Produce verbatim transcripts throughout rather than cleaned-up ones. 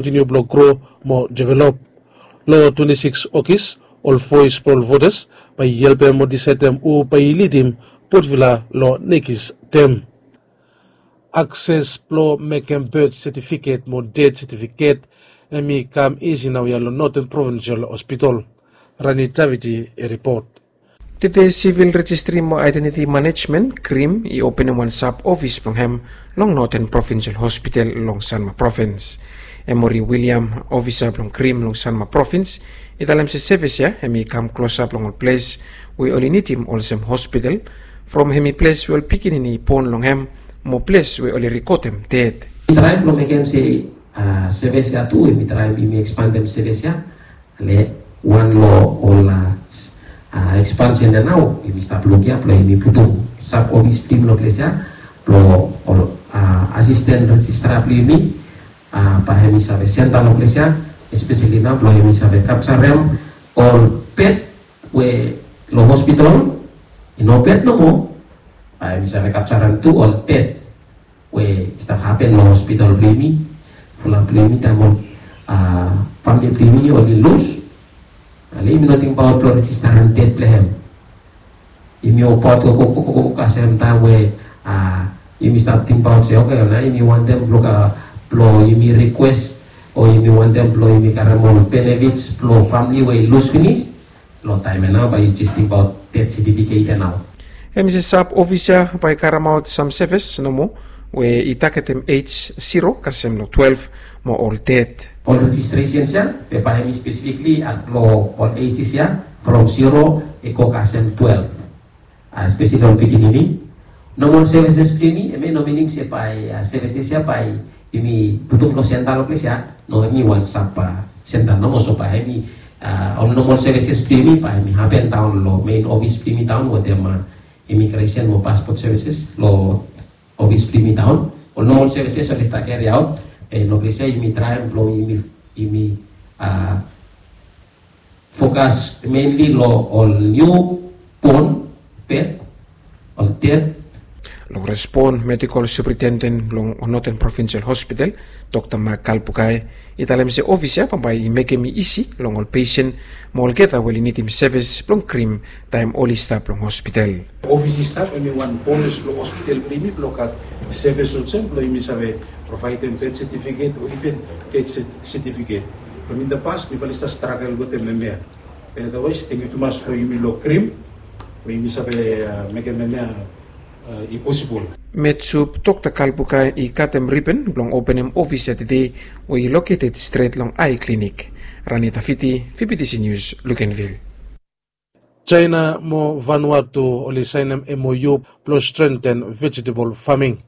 kontiniu blong gro mo develop. Long twenti sikis Ogis, ol voes blong ol votas bae i helpem mo disaedem hu bae i lidim Port Vila long nekis tem. Akses blong mekem birth setifiket mo death setifiket hemi kam isi naoia long Northern Provincial Hospital. Rani Taviti i ripot. Tede Sivil Rejistri mo Aedentiti Manejmen, krim, i openem wan sab ofis blong hem long Northern Provincial Hospital long Sanma Provins. Emori William, ofisa blong krim long Sanma Provins, i talem se sevis ya hemi kam klosap long ol ples we oli nidim olsem hospital, from hemi ples we ol pikinini i bon long hem, mo ples we oli rekodem ded. Mi traem blong mekem se sevis ya tu, hemi traem, hemi ekspandem sevis ya. Ale wan long ol ekspansen ya nao, yumi stap luk ya blong yumi putum sab ofis blong yumi long ples ya blong ol asisten rejistra blong yumi, bae hemi save senta long ples ya, espeseli nao blong hemi save kapjarem ol pet we long hospital i no pet nomo, bae hemi save kapjarem tu ol ded we i stap hapen long hospital blong yumi, fulap blong yumi taem ol famili blong yumi oli lus. Ale yumi no tingbaot blong rejistarem ded blong hem. Yumi obaot gogo kasem taem we yumi stap tingbaot se oke, nao yumi wantem blong, blong yumi rikwes o yumi wantem blong yumi karem ol benefits blong famili we i lus finis. Long taem ya nao bae yu jes tingbaot ded setifiket ya nao. Hemi se sab ofis ya bae i karemaot sam sevis nomo we i tagetem ej siro kasem long twelef mo ol ded. Ol rejistresens ya, be bae hemi spesifikli long ol ejis ya from siro i go kasem twelef. Espeseli ol pikinini. Nomol sevises blong yumi, hemia i no minim se bae sevises ya bae yumi putum long senta long ples ya. No, hemi wan sab senta nomo, so bae hemi ol nomol sevises blong yumi bae hemi hapen daon long mein ofis blong yumi daon wetem imigresen mo paspot sevises long ofis blong yumi daon. Ol nomol sevises oli stap keriaot. Long ples ya yumi traem blong yumi fokas menli long ol niubon, bet, ol ded. Long respon, medikol superintenden blong Northern Provincial Hospital, Dokta Mak Kalbukai, i talem se ofis ya bambae i mekem i isi long ol pesen mo olgeta we oli nidim sevis blong krim taem oli stap long hospital. Ofis i stap, hemi wan bonas blong hospital blong yumi blong gat sevis olsem blong yumi save provaedem bet setifiket o iven ded setifiket. Long in the past mifala i stap stragel wetem hemia. Be otherwise, tangkiu tumas long yumi long krim we yumi save mekem hemia i posibol. Metsup Dokta Kalbukai i katem riben blong openem ofis ya tede we i loketed stret long Ai Klinik. Rani Tafiti, V B T C News, Luganville. Jaena mo Vanuatu oli saenem M O U blong strengten vegetable farming.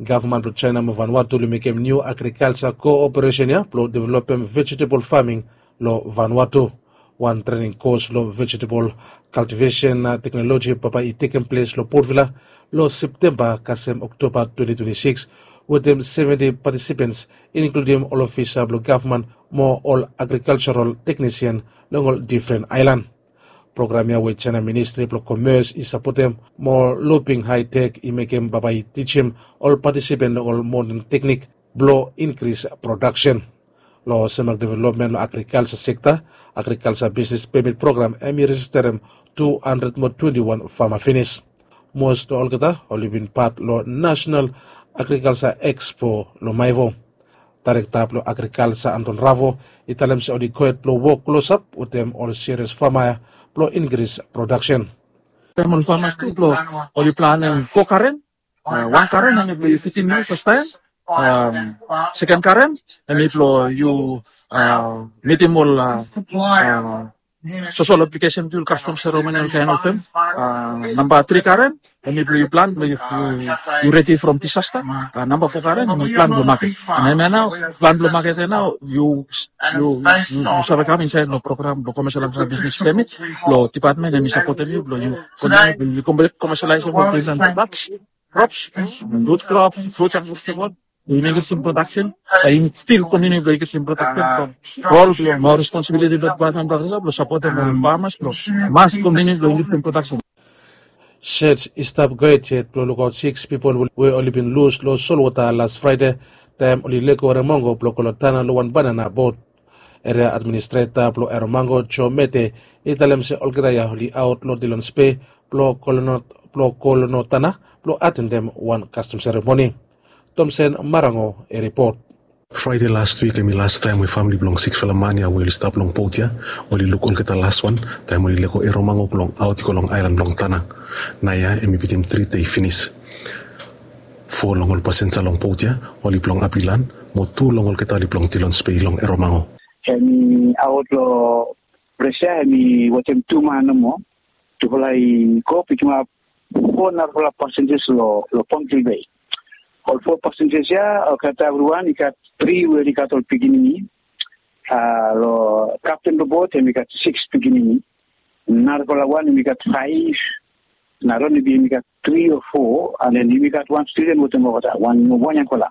Gavman blong Jaena mo Vanuatu oli mekem niu agrikalja kooperesen ya blong developem vegetable farming long Vanuatu. Wan trening kos long vegetable kaltivesen teknoloji bambae i tekem ples long Port Vila long Septemba kasem Oktoba twenti twenti sikis, wetem seventi patisipens, inkludim ol ofisa blong gavman mo ol agrikaljaral teknisien long ol difren aelan. Program ya we Jaena Ministri blong Komers i sapotem mo Luping Haitek i mekem bambae i tijim ol patisipen long ol moden teknik blong inkris prodaksen. Long Semak Developmen long Agrikalja Sekta, Agrikalja Bisnes Pemit Program hemi rejisterem tu handred mo twenti wan fama finis. Mos long olgeta oli bin pat long Nasenal Agrikalja Ekspo long Maewo. Daerekta blong Agrikalja Anton Ravo i talem se oli gohed blong wok klosap wetem ol sirias fama ya blong inkris prodaksen. Taem ol famas tu blong oli planem fo garen, wan garen hemi blong yu fitim yu fastaem, seken garen hemi blong yu mitim ol sosol aplikesen tu, kastom seremoni, ol kaen of tem. Namba tri garen hemi blong yu plan blong yu redi from disasta. Namba fo garen hemi plan blong maket. Hemia nao plan blong maket ya nao yu save kam insaed long program blong Commercial and Agribusiness Permit blong dipatmen hemi sapotem yu blong yu koneselaesem ol grins and products, crops, root crops, fruits and vegetable. Yu inkrisim prodaksen, yu stil kontiniu blong inkrisim prodaksen from rol blong mo responsibiliti blong dipatmen blong agrikalja blong sapotem ol famas blong mas kontiniu blong inkrisim prodaksen. Sej i stap gohed yet blong lukaot sikis pipol we oli bin lus long solwota las Fraede taem oli lego Eromango blong go long Tanna long wan banana bot. Eria administreta blong Eromango, Joe Mete, i talem se olgeta ya oli aot long Dillons Bay blong go long Tanna blong atendem wan kastom seremoni. Tomsen Marango i ripot. Fraede las wik hemi las taem we famle blong sikisfala man ya we oli stap long bot ya oli luk olgeta laswan taem oli lego Eromango blong aot i go long aelan blong Tanna. Naoia hemi bitim tri dei finis. Fo long ol pasenja long bot ya oli blong Apilan, mo tu long olgeta oli blong Dillons Bay long Eromango. Hemi aot long ples ya, hemi wetem tu man nomo. Tufala i go pikimap fo narafala pasenjas long Pontclair Bay. Ol fo pasenjas ya olgeta evriwan i gat tri we oli gat ol pikinini. Long kapten blong bot hemi gat sikis pikinini. Narafala wan hemi gat faef. Na Ronnie Bee hemi gat tri o fo, and then hemi gat wan studen wetem olgeta, wan yangfala.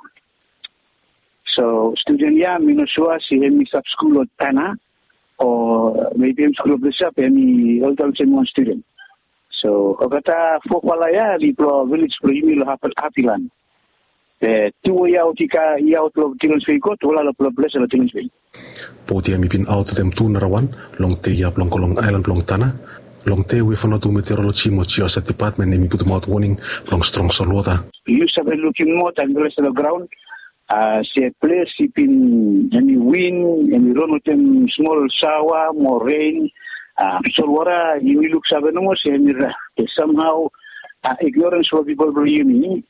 So studen ya mi no sua se hemi stap skul long Tanna o maybe hemi skul long ples ya be hemi olgeta olsem wan studen. So olgeta fofala ya oli blong vilej blong yumi long Apilan. Be tu we i aot long Dillons Bay i go, tufala long ples ya long Dillons Bay. Bot ya hemi bin aot wetem tu narawan long dei ya blong go long aelan blong Tanna, long dei we Vanuatu Meteoroloji mo Geohazard Depatmen hemi putumaot woning blong strong solwota. Yu save lukim moa taem i ples long graon. Se ples i bin hemi win, hemi ron wetem smol saoa mo ren. Solwota yumi luksave nomo se hemi ra, be samhao ignorens blong pipol blong yumi,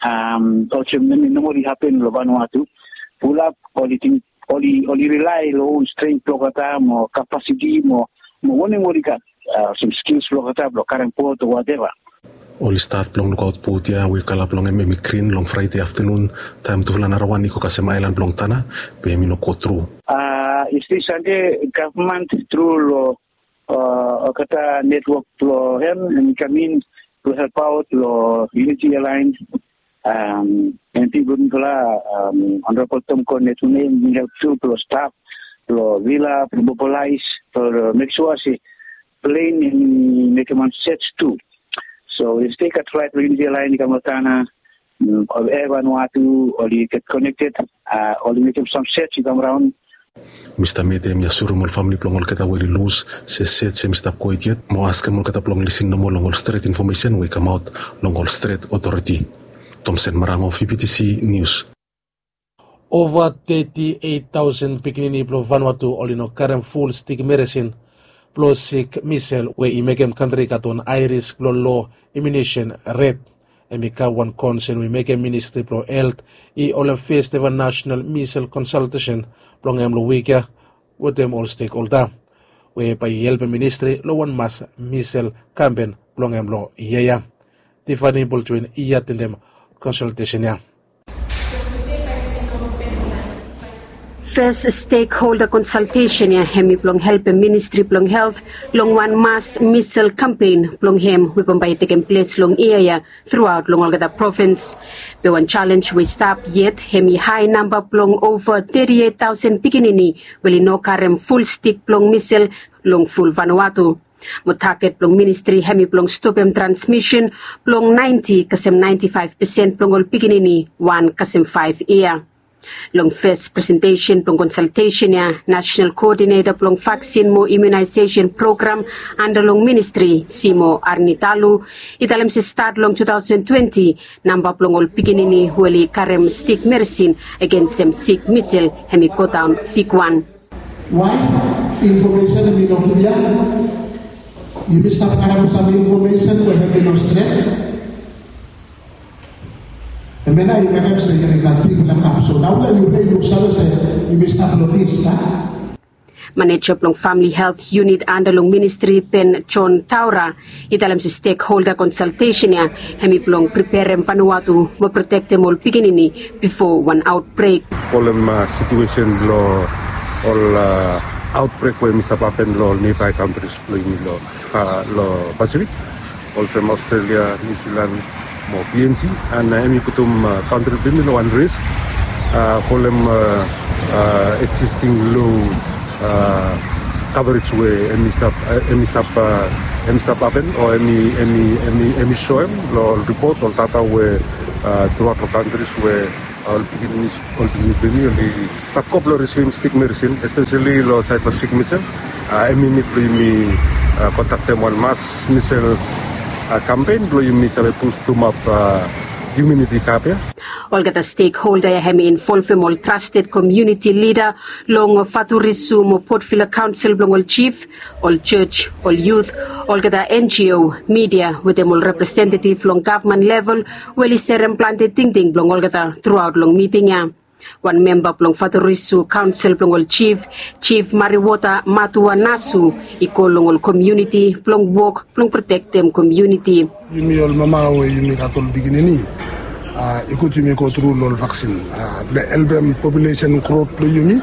olsem hemi nomali hapen long Vanuatu. Fulap oli ting, oli, oli rilae long on strength blong olgeta mo kapasiti mo, mo wanem oli gat, olsem skils blong olgeta blong karem bot o wateva. Oli stat blong lukaot bot ya we kala blong hem hemi grin long Fraede aftanun, taem tufala narawan i go kasem aelan blong Tanna, be hemi no go tru. Yestede Sande gavman tru long olgeta netwok blong hem, hemi kam in blong helpaot long Unity Airline. Em, pipol mifala, Honorable Tom Cornett, hemi help tu blong stap blong vila blong mobilaes blong mek sua se plen hemi mekem wan set tu. So yestede gat flaet blong Unity Airline i kam long Tanna. Ol Air Vanuatu oli get konekted, oli mekem sam set i kam raon. Mista Mete hemi asurim ol famle blong olgeta we oli lus se set hemi stap gohed yet mo askem olgeta blong lisin nomo long ol stret infomesen we i kamaot long ol stret otoriti. Tomsen Marango, V B T C News. Ova teti eit taosen pikinini blong Vanuatu oli no karem ful stik meresin blong sik misel we i mekem kantri i gat wan ae risk blong loa imunesen ret. Hemi kam wan konsen we i mekem Ministri blong Helt i holem fes eva nasenal misel konsaltesen blong hem long wik ya wetem ol stekholda we bae i helpem ministri long wan mas misel kampen blong hem long yia ya. Tifani Boltwin i atendem konsaltesen ya. Fes stekholda konsaltesen ya hemi blong helpem Ministri blong Helt long wan mas misel kampen blong hem we bambae i tekem ples long yia ya truaot long olgeta provins. Be wan jalenj we i stap yet hemi hae namba blong ova teti eit taosen pikinini we oli no karem ful stik blong misel long ful Vanuatu. Mo taget blong ministri hemi blong stopem transmisen blong naenti kasem naenti faef pesen blong ol pikinini wan kasem faef yia. Long fes presentesen blong konsaltesen ya, nasenal koodineta blong vaksin mo imunaesesen program anda long ministri, Simo Arnitalu, i talem se stat long tu taosen twenti, namba blong ol pikinini we oli karem stik meresin agensem sik misel hemi godaon bigwan. Wae infomesen hemi no klia? Yumi stap karem sam infomesen we hemi no stret. Hemia nao i mekem se yumi gat bigfala gap. So naoia yumi luksave se yumi stap long plis, a? Maneja blong Famili Helt Yunit anda long ministri, Ben John Taura, i talem se stekholda konsaltesen ya hemi blong preperem Vanuatu mo protektem ol pikinini bifo wan aotbrek. Folem, a, situesen blong ol, a, aotbrek we hemi stap hapen long ol niabae kantris blong yumi long, a, long Pasifik, olsem Australia, New Zealand mo P N G, and, a, hemi putum, a, kantri blong yumi long wan risk, a, folem, a, a, existing low, a, coverage we hemi stap, a, hemi stap, a, hemi stap hapen o hemi, hemi, hemi, hemi soem long ol ripot, ol data we, a, truaot long kantris we Ol pikinini, ol pikinini blong yumi oli stap go blong risivim stik medisin, espeseli long saed blong sik misel. Em i nid blong yumi kontaktem wan mas misel kampen blong yumi save bustumap imuniti i gat ya. Olgeta stekholda ya hem i involvem ol trasted komuniti lida long Faturisu mo Port Vila Kaonsel blong ol jif, ol jos, ol yut, olgeta N G O, midia wetem ol representetiv long gavman level we oli serem plante tingting blong olgeta truaot long miting ya. Wan memba blong Faturisu Kaonsel blong ol jif, Jif Mariwota Matua Nasu, i kol long ol komuniti blong wok blong protektem komuniti. Yumi ol mama we yumi gat ol pikinini, i gud yumi go tru long ol vaksin blong helpem populesen grot blong yumi.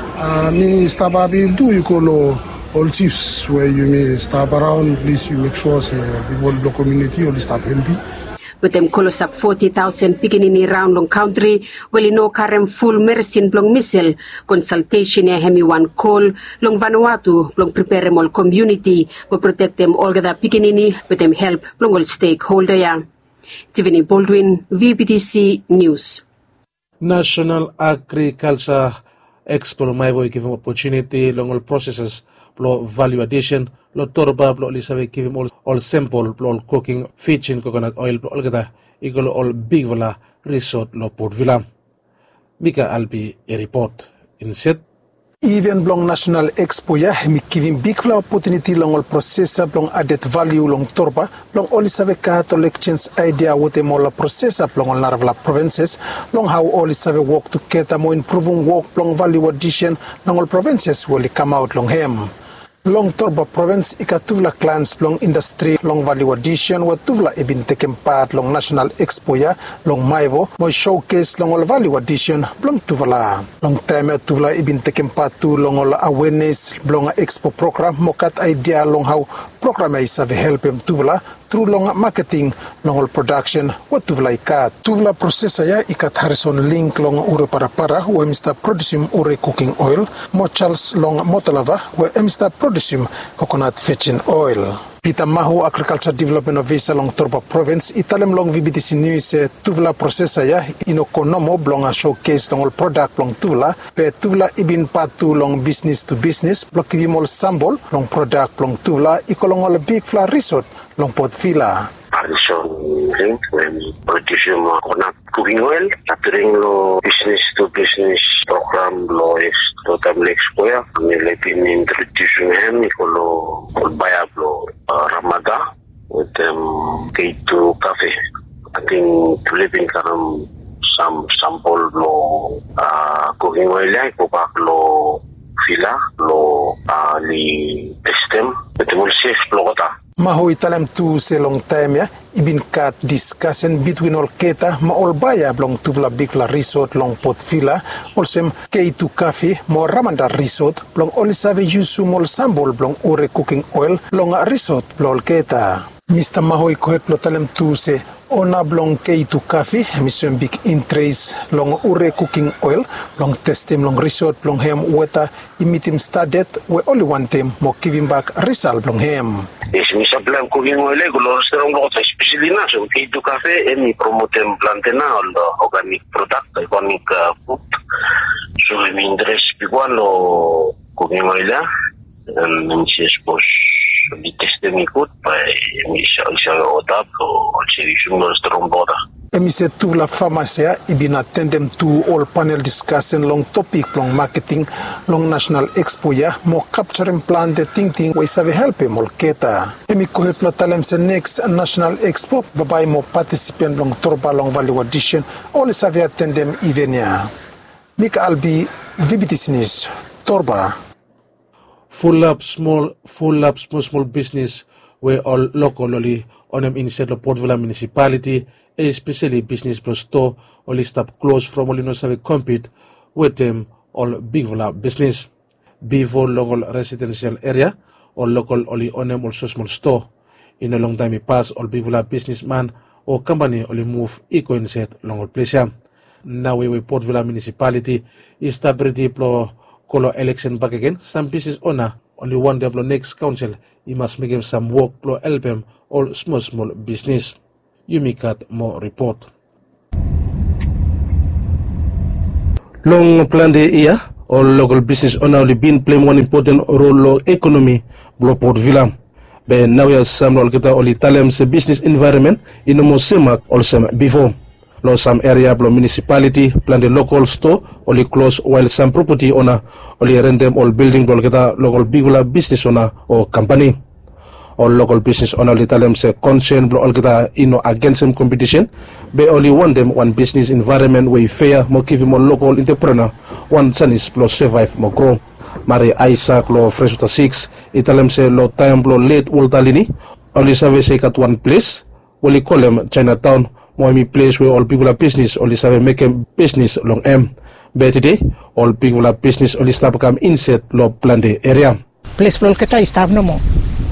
Mi stap apil tu i go long ol jifs we yumi stap araon, plis yu mek sua se pipol blong komuniti oli stap helti. Wetem klosap foti taosen pikinini raon long kantri we oli no karem ful medisin blong misel, konsaltesen ya hem i wan kol long Vanuatu blong preperem ol komuniti mo protektem olgeta pikinini wetem help blong ol stekholda ya. Tivini Baldwin, V B T C News. National Agriculture Expo long Maewo i givim opotuniti long ol proseses blong value addition long Torba blong oli save givim ol sempol blong ol kuking fijin kokonat oel blong olgeta i go long ol bigfala risot long Port Vila. Mika Albi i ripot. Inset. Iven blong National Expo ya hem i givim bigfala opotuniti long ol prosesa blong adet valiu long Torba blong oli save gat ol ekjenj aedia wetem ol prosesa blong ol narafala provenses long hao oli save wok tugeta mo impruvum wok blong valiu adisen long ol provenses we oli kamaot long hem. Long Torba provens i gat tufala klans blong indastri long valiu adisen we tufala i bin tekem pat long National Expo ya long Maewo mo i sokes long ol valiu adisen blong tufala. Long taem ya tufala i bin tekem pat tu long ol awenes blong Expo program mo gat aedia long hao program ya i save helpem tufala tru long maketing long ol prodaksen we tufala i gat. Tufala prosesa ya i gat Harison Ling long Ure Parapara we hem i stap produsim ure kuking oel mo Charles long Motalava we hem i stap produsim kokonat vejin oel. Pita Mahu, Agrikalja Developmen Ofisa long Torba Provens, i talem long V B T C Nius se tufala prosesa ya i no go nomo blong sokes long ol prodak blong tufala, be tufala i bin pat tu long bisnis tu bisnis blong givim ol sambol long prodak blong tufala i go long ol bigfala risot long Port Vila. Harison Ling we hem i produsim kokonat kuking oel, ating long bisnis tu bisnis program blong Expo, long taem blong Expo ya, mi laik introdusim hem i go long ol baea blong Ramada wetem K two Cafe. Ating tufala i bin karem sam sambol blong kuking oel ya i gobak long Vila blong oli testem wetem ol sef blong olgeta. Mahu i talem tu se long taem ya i bin gat diskasen bitwin olgeta mo ol baea blong tufala bigfala risot long Port Vila, olsem K two Cafe mo Ramada Risot, blong oli save yusum ol sambol blong ure kuking oel long risot blong olgeta. Mista Mahu i gohed blong talem tu se ona blong K two Cafe hem i soem big interes long ure kuking oel blong testem long risot blong hem weta i mitim standad we oli wantem mo givimbak risal blong hem. Yes, mi saplaem kuking oel ya i go long restoran blong olgeta, espeseli nao so K two Cafe hem i promotem plante nao ol organik prodak, organik fud. So hem i interes bigwan long kuking oel ya. Hem i se sapos oli testem i gud, bae hem i save oda blong oli save yusum long restoran blong olgeta. Hem i se tufala famas ya i bin atendem tu ol panel diskasen long topik blong maketing long National Expo ya mo kapjarem plante tingting we i save helpem olgeta. Hem i gohed blong talem se neks National Expo bambae mo patisipent blong Torba long valiu adisen oli save atendem iven ya. Mika Albi, V B T C Nius, Torba. Fulap smol, fulap smol smol bisnis we ol lokol oli onem insaed long Port Vila Munisipaliti, espeseli bisnis blong stoa, oli stap klos from oli no save kompit wetem ol bigfala bisnis. Bifo long ol residensel eria, ol lokol oli onem ol smosmol stoa. I no longtaem i pas ol bigfala bisnisman o kampani oli muv i go insaed long ol ples ya. Naoia we Port Vila Munisipaliti i stap redi blong go long eleksen bakegen, sam bisnis ona oli wantem blong neks kaonsel i mas mekem sam wok blong helpem ol smosmol bisnis. Yumi gat moa ripot. Long plante yia, ol lokol bisnis ona oli bin pleim wan impoten rol long ekonomi blong Port Vila. Be naoia sam long olgeta oli talem se bisnis envaeronmen i no moa semak olsem bifo. Long sam eria blong munisipaliti, plante lokol stoa oli klos, wael sam propati ona oli rentem ol bilding blong olgeta long ol bigfala bisnis ona o kampani. Ol lokol bisnis ona oli talem se konsen blong olgeta i no agensem kompetisen, be oli wantem wan bisnis envaeronmen we i fea mo givim ol lokol entreprenua wan janis blong sevaev mo gro. Mari Aisak long Freswota Siks i talem se long taem blong let Walta Lini, oli save se i gat wan ples we oli kolem Jaenataon, mo hemi ples we ol bigfala bisnis oli save mekem bisnis long hem. Be tede, ol bigfala bisnis oli stap kam insaed long plante eria. Ples blong olgeta i stap nomo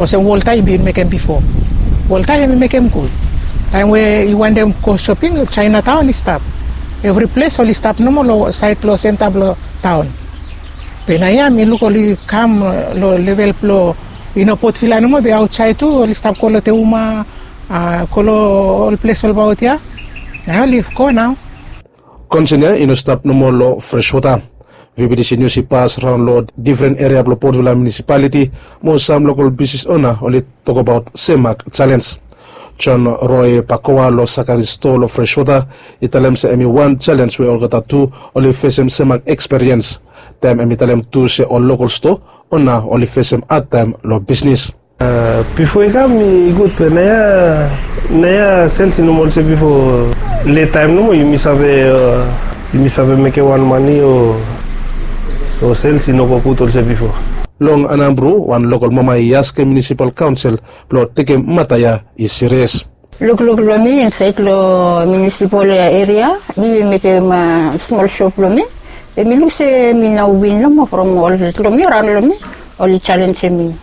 olsem Walta i bin mekem bifo. Walta hemi mekem gud. Taem we i wantem go shoping, Jaenataon i stap. Evri ples oli stap nomo long saed blong senta blong taon. Be naoia mi luk oli kam long level blong i no Port Vila nomo, be aotsaed tu oli stap go long Teuma, a, go long ol ples olbaot ya. Naoia oli go nao. Konsen ya i no stap nomo long Freswota. VBTC Nius i pas raon long difren eria blong Port Vila munisipaliti, mo sam lokol bisnis ona oli tokbaot semak jalenj. John Roy Pakoa long Sakari stoa long Freswota i talem se hemi wan jalenj we olgeta tu oli fesem semak ekspiriens. Taem hemi talem tu se ol lokol stoa ona oli fesem hadtaem long bisnis. Bifo i kam i gud, be naoia, naoia sels i no moa olsem bifo. Let taem nomo yumi save, yumi save mekem wan mane o, so sels i no go gud olsem bifo. Long Anambru, wan lokol mama i askem munisipal kaonsel blong tekem mata ya i sirias. Lukluk long mi insaed long munisipal eria, mi bin mekem smol shop blong mi. Be mi luk se mi no win nomo from ol long mi, raon long mi, oli jalenjem mi.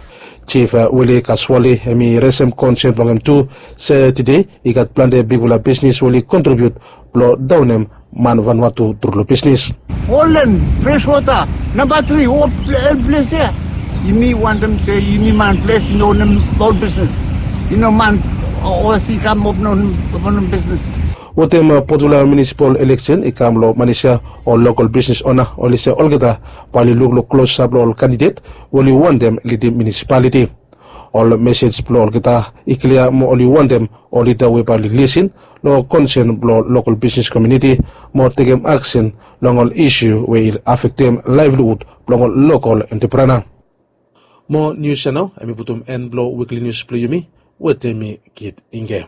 Jif Wili Kaswali hemi resem konsen blong hem tu, se tede i gat plante bigfala bisnis we oli kontribiut blong daonem man Vanuatu tru long bisnis. Holden, Freswota, namba tri, ol ples ya. Yumi wantem se yumi man ples i no onem ol bisnis. I no man osi i kam openem bisnis. Wetem Port Vila munisipal eleksen i kam long Manesia, ol lokol bisnis ona oli se olgeta bae oli lukluk klosap long ol kandidet we oli wantem lidim munisipaliti. Ol mesej blong olgeta i klia mo oli wantem ol lida we bae oli lisin long konsen blong lokol bisnis komuniti mo tekem aksen long ol isu we i afektem laevliwud blong ol lokol entreprenua. Mo nius ya nao hemi putum en blong wikli nius blong yumi wetem mi, Kit Inge.